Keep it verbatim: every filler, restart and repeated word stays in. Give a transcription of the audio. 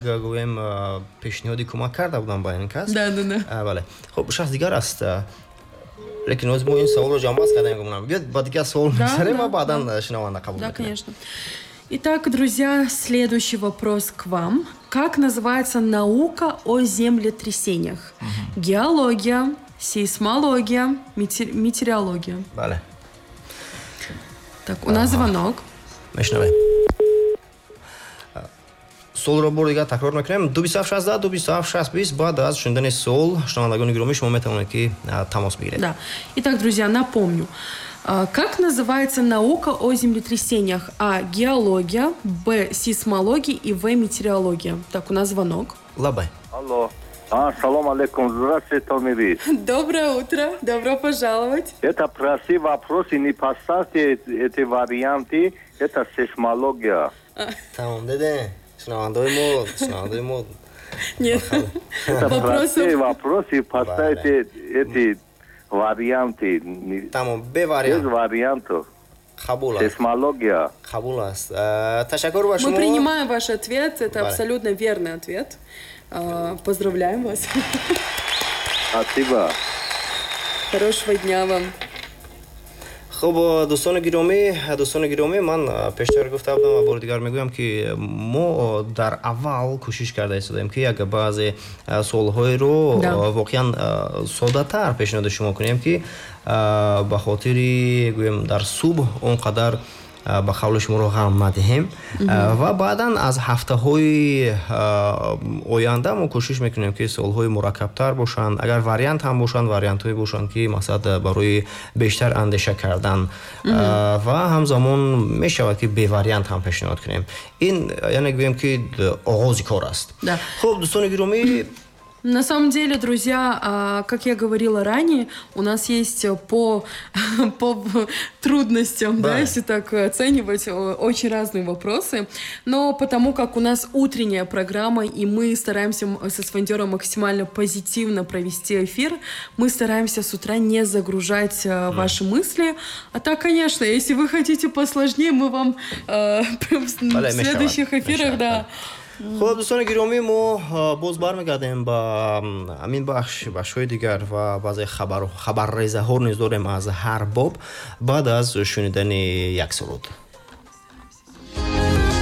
Гӯем, пешниҳоди кӯмак карда будам ба ин кас. Да, да, да. Бале, хуб, шахс дигар аст, лекин ҳозир мо ин саволро ҷамъбаст кардем, гумонам. Биёд, ба дигар савол мегзарем ва баъдан шунаванда қабул. Да, конечно. Итак, друзья, следующий вопрос к вам. Как называется наука о землетрясениях? Угу. Геология, сейсмология, метеор... метеорология. Бале. Так, у нас звонок. Мешнавем. Суолро бор дигар такрор мекунем: ду бисту ҳафт шаздаҳ, ду бисту ҳафт шаст бист. Баъд аз шунидани суол, шунавандагони гиромӣ, шумо метавонед, ки тамос бигиред. Да. Итак, друзья, напомню. Как называется наука о землетрясениях? А. Геология, Б. Сейсмология и В. Метеорология. Так, у нас звонок. Лабай. Алло. А, салом алейкум. Здравствуйте, Томирис. Доброе утро. Добро пожаловать. Это простые вопросы, не поставьте эти варианты. Это сейсмология. Тамом, деде. Шунавандаои мо, шунавандаои мо. Нет. Это простые вопросы, поставьте эти варианты. Тамом, бе вариант. Без вариантов. Қабул аст. Сейсмология. Қабул аст. Ташаккур ба шумо. Мы принимаем ваш ответ. Это абсолютно верный ответ. Поздравляем вас. Спасибо. Хорошего дня вам. Хуб, дӯстони гиромӣ, дӯстони гиромӣ, ман пештар гуфта будам ва бори дигар мегӯям, ки мо дар аввал кӯшиш карда истодаем, ки як баъзе суолҳоеро воқеан соддатар пешниҳоди шумо кунем, ки ба хотири, гӯем, дар субҳ он қадар, ба қавли шуморо, ғам надиҳем. Ва баъдан аз ҳафтаҳои оянда мо кӯшиш мекунем, ки суолҳои мураккабтар бошанд, агар вариант ҳам бошанд, вариантҳое бошанд, ки мақсад барои бештар андеша кардан, ва ҳамзамон мешавад, ки бевариант ҳам пешниҳод кунем. Ин яъне, гӯем, ки оғози кор аст. Хуб, дӯстони гиромӣ. На самом деле, друзья, а, как я говорила ранее, у нас есть по, по трудностям, да. да, если так оценивать, очень разные вопросы. Но потому как у нас утренняя программа, и мы стараемся со Сфандером максимально позитивно провести эфир, мы стараемся с утра не загружать mm. ваши мысли. А так, конечно, если вы хотите посложнее, мы вам э, в следующих эфирах, да, Хуб, дӯстони гиромӣ, мо боз бармегардем ба ҳамин бахш, бахшҳои дигар ва баъзе хабаррезаҳо низ дорем аз ҳар боб баъд аз шунидани як суруд.